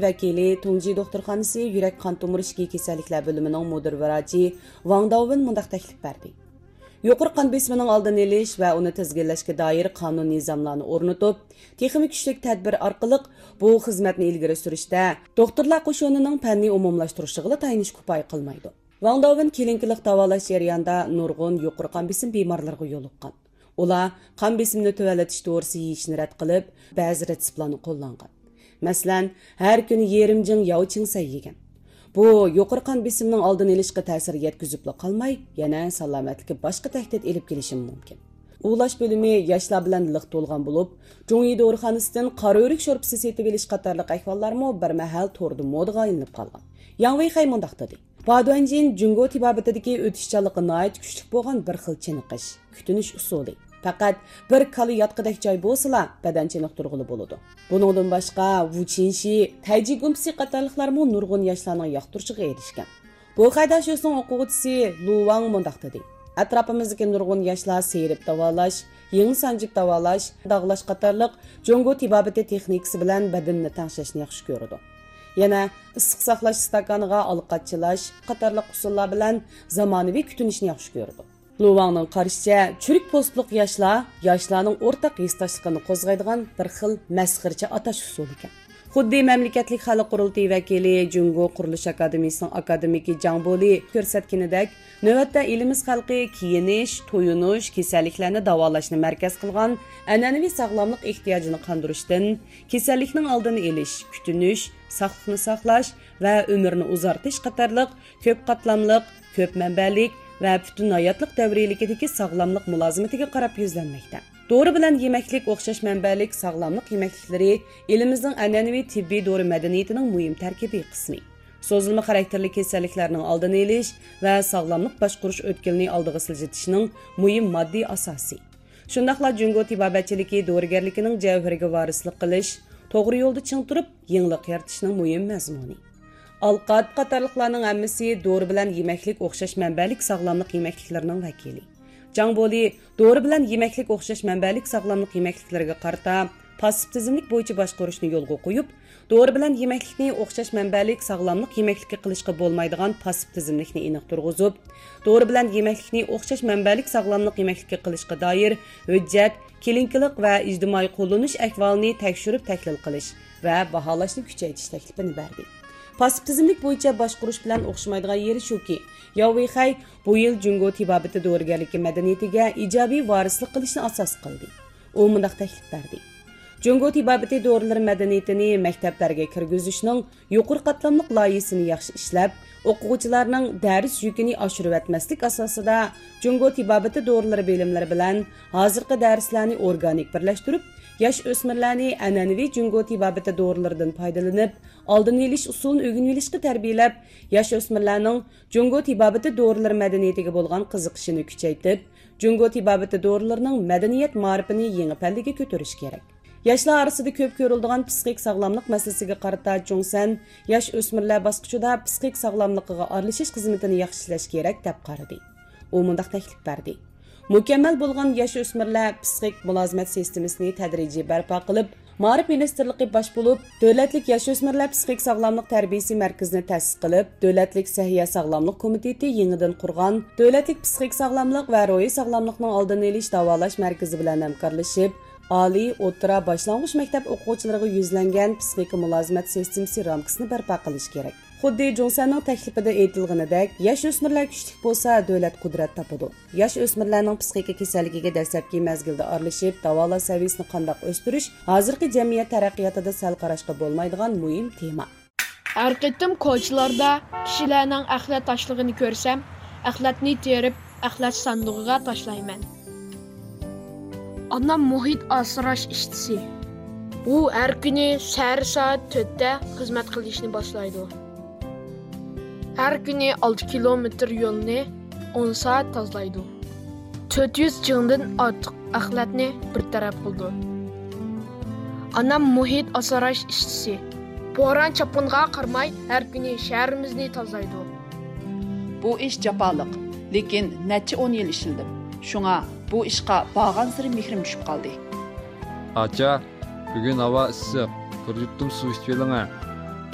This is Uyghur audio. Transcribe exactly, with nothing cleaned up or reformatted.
ۋەكىلى، تۇڭجى دوختۇرخانىسى يۈرەك قان تومۇر ئىچكى كېسەللىكلەر بۆلۈمىنىڭ مۇدىر ۋراچى ۋاڭ داۋېن مۇنداق تەكلىپ بەردى: يۇقىرى قان بېسىمىنىڭ ئالدىنى ئېلىش ۋە ئۇنى تىزگىنلەشكە دائىر قانۇن نىزاملارنى ئورنىتىپ، تېخىمۇ كۈچلۈك تەدبىر ئارقىلىق بۇ خىزمەتنى ئىلگىرى سۈرۈشتە، دوختۇرلار قوشۇنىنىڭ پەننى ئومۇملاشتۇرۇشىغىلا تايىنىش كۇپايە قىلمايدۇ. ۋاڭ داۋېن كلىنىكىلىق داۋالاش جەريانىدا نۇرغۇن يۇقىرى قان بېسىم بىمارلىرىغا يولۇققان. ئۇلار قان بېسىمىنى تۆۋەنلىتىش دورىسى يېيىشنى رەت قىلىپ، بەزى رېتسېپلارنى قوللانغان. مەسىلەن، ھەر كۈنى يېرىم جىڭ ياۋ چىڭسەي يېگەن. بۇ يۇقىرى قان بېسىمىنىڭ ئالدىنى ئېلىشقا تەسىر يەتكۈزۈپلا قالماي، يەنە سالامەتلىككە باشقا تەھدىت ئېلىپ كېلىشىمۇ مۇمكىن. ئۇۋۇلاش بۆلۈمى ياشلار بىلەن لىق تولغان بولۇپ، جۇڭيى دورىخانىسىدىن قارا ئۆرۈك شورپىسى سېتىۋېلىش قاتارلىق ئەھۋاللارمۇ بىر مەھەل توردا مودىغا ئايلىنىپ قالغان. ياڭ ۋېيخەي مۇنداق دېدى: بادۇەنجىن جۇڭگو تېبابىتىدىكى ئۆتۈشچانلىقى ناھايىتى كۈچلۈك بولغان بىر خىل چېنىقىش، كۈتۈنۈش ئۇسۇلى. پەقەت بىر كالا ياتقۇدەك جاي بولسىلا، بەدەن چېنىقتۇرغىلى بولىدۇ. بۇنىڭدىن باشقا، ۋۇچىنشى، تەيجى گۇمپىسى قاتارلىقلارمۇ نۇرغۇن ياشلارنىڭ ياقتۇرۇشىغا ئېرىشكەن. بوخەي داشۆسنىڭ ئوقۇغۇچىسى لۇ ۋاڭ مۇنداق دېدى: ئەتراپىمىزدىكى نۇرغۇن ياشلار سىيرىپ داۋالاش، يىڭنە سانجىپ داۋالاش، داغلاش قاتارلىق جۇڭگو تېبابىتى تېخنىكىسى بىلەن بەدىنىنى تەڭشەشنى ياخشى كۆرىدۇ. يەنە ئىسسىق ساقلاش ئىستاكانىغا ئالقات چىلاش قاتارلىق ئۇسۇللار بىلەن زامانىۋى كۈتۈنۈشنى ياخشى كۆرىدۇ. لۇ ۋاڭنىڭ قارىشىچە، چۈرۈك پوستلۇق ياشلار ياشلارنىڭ ئورتاق ھېسداشلىقىنى قوزغايدىغان بىر خىل مەسخىرىچە ئاتاش ئۇسۇلىكەن. خۇددى مەملىكەتلىك خەلق قۇرۇلتىيى ۋەكىلى، جۇڭگو قۇرۇلۇش ئاكادېمىيىسىنىڭ ئاكادېمىكى جاڭ بولى كۆرسەتكىنىدەك، نۆۋەتتە ئېلىمىز خەلقى كىيىنىش، تويۇنۇش، كېسەللىكلەرنى داۋالاشنى مەركەز قىلغان ئەنئەنىۋى ساغلاملىق ئېھتىياجىنى قاندۇرۇشتىن، كېسەللىكنىڭ ئالدىنى ئېلىش، كۈتۈنۈش، ساقلىقنى ساقلاش ۋە ئۆمۈرنى ئۇزارتىش قاتارلىق كۆپ قاتلاملىق، كۆپ مەنبەلىك ۋە پۈتۈن ھاياتلىق دەۋرىيلىكىدىكى ساغلاملىق مۇلازىمىتىگە قاراپ يۈزلەنمەكتە. دورا بىلەن يېمەكلىك ئوخشاش مەنبەلىك ساغلاملىق يېمەكلىكلىرى ئېلىمىزنىڭ ئەنئەنىۋى تېببىي دورا مەدەنىيىتىنىڭ مۇھىم تەركىبىي قىسمى. سوزۇلما خاراكتېرلىك كېسەللىكلەرنىڭ ئالدىنى ئېلىش ۋە ساغلاملىق باشقۇرۇش ئۆتكىلىنى ئالدىغا سىلجىتىشنىڭ مۇھىم ماددىي ئاساسى. شۇنداقلا جۇڭگو تېبابەتچىلىكى دورىگەرلىكىنىڭ جەۋھىرىگە ۋارىسلىق قىلىش، توغرا يولدا چىڭ تۇرۇپ، يېڭىلىق يارىتىشنىڭ مۇھىم مەزمۇنى. ئالقات قاتارلىقلارنىڭ ھەممىسى دورا بىلەن يېمەكلىك ئوخشاش مەنبەلىك ساغلاملىق يېمەكلىكلىرىنىڭ ۋەكىلى. جاڭ بولى دورا بىلەن يېمەكلىك ئوخشاش مەنبەلىك ساغلاملىق يېمەكلىكلىرىگە قارىتا پاسسىپ تىزىملىك بويىچە باشقۇرۇشنى يولغا قويۇپ، دورا بىلەن يېمەكلىكنى ئوخشاش مەنبەلىك ساغلاملىق يېمەكلىككە قىلىشقا بولمايدىغان پاسسىپ تىزىملىكنى ئېنىق تۇرغۇزۇپ، دورا بىلەن يېمەكلىكنى ئوخشاش مەنبەلىك ساغلاملىق يېمەكلىككە قىلىشقا دائىر ھۆججەت، كلىنىكىلىق ۋە ئىجتىمائىي قوللىنىش ئەھۋالىنى تەكشۈرۈپ تەھلىل قىلىش ۋە باھالاشنى كۈچەيتىش تەكلىپىنى بەردى. پاسسىپ تىزىملىك بويىچە باشقۇرۇش بىلەن ئوخشىمايدىغان يېرى شۇكى، ياۋ ۋېيخەي بۇ يىل جۇڭگو تېبابىتى دورىگەرلىكى مەدەنىيىتىگە ئىجابىي ۋارىسلىق قىلىشنى ئاساس قىلدى. ئۇ مۇنداق تەكلىپ بەردى: جۇڭگو تېبابىتى دورىلىرى مەدەنىيىتىنى مەكتەپلەرگە كىرگۈزۈشنىڭ يۇقىرى قاتلاملىق لايىھىسىنى ياخشى ئىشلەپ، ئوقۇغۇچىلارنىڭ دەرس يۈكىنى ئاشۇرۇۋەتمەسلىك ئاساسىدا، جۇڭگو تېبابىتى دورىلىرى بىلىملىرى بىلەن ھازىرقى دەرسلەرنى ئورگانىك بىرلەشتۈرۈپ، ياش ئۆسمۈرلەرنى ئەنئەنىۋى جۇڭگو تېبابىتى دورىلىرىدىن پايدىلىنىپ، ئالدىنى ئېلىش ئۇسۇلىنى ئۆگىنىۋېلىشقا تەربىيەلەپ، ياش ئۆسمۈرلەرنىڭ جۇڭگو تېبابىتى دورىلىرى مەدەنىيىتىگە بولغان قىزىقىشىنى كۈچەيتىپ، جۇڭگو تېبابىتى دورىلىرىنىڭ مەدەنىيەت مائارىپىنى يېڭى پەللىگە كۆتۈرۈش كېرەك. ياشلار ئارىسىدا كۆپ كۆرۈلىدىغان پىسخىك ساغلاملىق مەسىلىسىگە قارىتا جۇڭسەن ياش ئۆسمۈرلەر باسقۇچىدا پىسخىك ساغلاملىقىغا ئارىلىشىش خىزمىتىنى ياخشى ئىشلەش كېرەك، دەپ قارىدى. ئۇ مۇنداق تەكلىپ بەردى: مۇكەممەل بولغان ياش ئۆسمۈرلەر پىسخىك مۇلازىمەت سىستېمىسىنى تەدرىجىي بەرپا قىلىپ، مائارىپ مىنىستىرلىقى باش بولۇپ، دۆلەتلىك ياش ئۆسمۈرلەر پىسخىك ساغلاملىق تەربىيىسى مەركىزىنى تەسىس قىلىپ، دۆلەتلىك سەھىيە ساغلاملىق كومىتېتى يېڭىدىن قۇرغان دۆلەتلىك پىسخىك ساغلاملىق ۋە روھىي ساغلاملىقنىڭ ئالدىنى ئېلىش داۋالاش مەركىزى بىلەن ھەمكارلىشىپ، ئالىي، ئوتتۇرا، باشلانغۇچ مەكتەپ ئوقۇغۇچىلىرىغا يۈزلەنگەن پىسخىكا مۇلازىمەت سىستېمىسى رامكىسىنى بەرپا قىلىش كېرەك. خۇددى جۇڭسەننىڭ تەكلىپىدە ئېيتىلغىنىدەك، ياش ئۆسمۈرلەر كۈچلۈك بولسا، دۆلەت قۇدرەت تاپىدۇ. ياش ئۆسمۈرلەرنىڭ پىسخىكا كېسەللىكىگە دەسلەپكى مەزگىلدە ئارىلىشىپ، داۋالاش سەۋىيەسىنى قانداق ئۆستۈرۈش ھازىرقى جەمئىيەت تەرەققىياتىدا سەل قاراشقا بولمايدىغان مۇھىم تېما. ھەر قېتىم كوچىلاردا كىشىلەرنىڭ ئەخلەت تاشلىغىنى كۆرسەم، ئەخلەتنى تېرىپ، ئەخلەت ساندۇقىغا تاشلايمەن. ئانام مۇھىت ئاسراش ئىشچىسى. ئۇ ھەر كۈنى سەھەر سائەت تۆتتە خىزمەت قىلىشنى باشلايدۇ. ھەر كۈنى ئالتە كىلومېتىر يولنى ئون سائەت تازىلايدۇ. تۆت يۈز جىڭدىن ئارتۇق ئەخلەتنى بىر تەرەپ قىلىدۇ. ئانام مۇھىت ئاسراش ئىشچىسى. بوران-چاپقۇنغا قارىماي، ھەر كۈنى شەھىرىمىزنى تازىلايدۇ. بۇ ئىش جاپالىق، لېكىن نەچچە ئون يىل ئىشلىدىم. شۇڭا بۇ ئىشقا بارغانسېرى مېھرىم چۈشۈپ قالدى. ئاچا، بۈگۈن ھاۋا ئىسسىق، بىر يۇتۇم سۇ ئىچىۋېلىڭە.